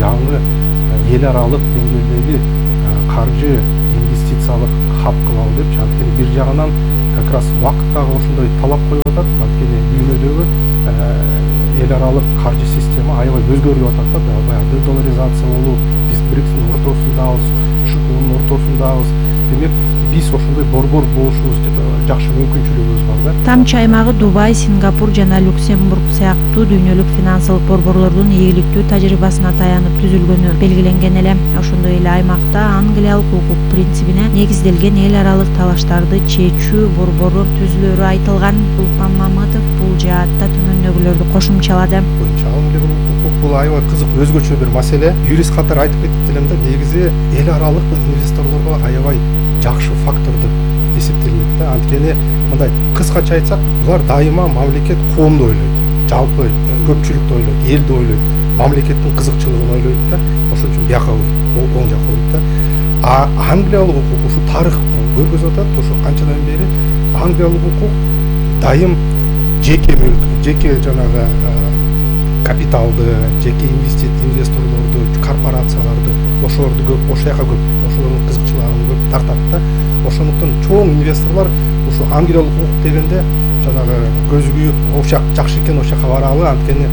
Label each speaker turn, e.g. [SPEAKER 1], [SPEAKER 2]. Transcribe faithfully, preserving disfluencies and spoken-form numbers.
[SPEAKER 1] жаңы эл аралык деңгээлдеги каржы инвестициялык хаб кылалы депчи. Анткени бир жагынан как раз убакыт дагы ошондой талап коюп атат. Анткени дүйнөдөгү эл аралык каржы система аябай өзгөрүп атат да, баягы дедоларизация болуп, биз брикстин ортосундабыз, ШКУнун ортосундабыз. Демек биз ошондой борбор болушубуз жакшы мүмкүнчүлүгүбүз бар да.
[SPEAKER 2] Тамчы аймагы Дубай, Сингапур жана Люксембург сыяктуу дүйнөлүк финансылык борборлордун ийгиликтүү тажрыйбасына таянып түзүлгөнү белгиленген эле. Ошондой эле аймакта англиялык укук принцибине негизделген эл аралык талаштарды чечүү борбору түзүлөрү айтылган. Улукман Мамытов бул жаатта төмөндөгүлөрдү кошумчалады.
[SPEAKER 1] Англиялык укук бул аябай кызык, өзгөчө бир маселе. Юрист катары айтып кетип элем да, негизи эл аралык инвесторлорго аябай жакшы фактор деп эсептелинет да. Анткени мындай кыскача айтсак, булар дайыма мамлекет коомду ойлойт, жалпы көпчүлүктү ойлойт, элди ойлойт, мамлекеттин кызыкчылыгын ойлойт да. Ошон үчүн бияка койт, оң жакка койт да. А англиялык укук ушу тарых көргөзүп атат. Ошо канчадан бери англиялык укук дайым жеке мүлк, жеке жанагы капиталды, жеке инвесторлорду, корпорацияларды, ошолорду көп, ошол жака көп, ошолордун кызыкчылыгын көп тартат да. Ошондуктан чоң инвесторлор ушу англиялык укук дегенде жанагы көзү күйүп, ошол жак жакшы экен, ошол жака баралы, анткени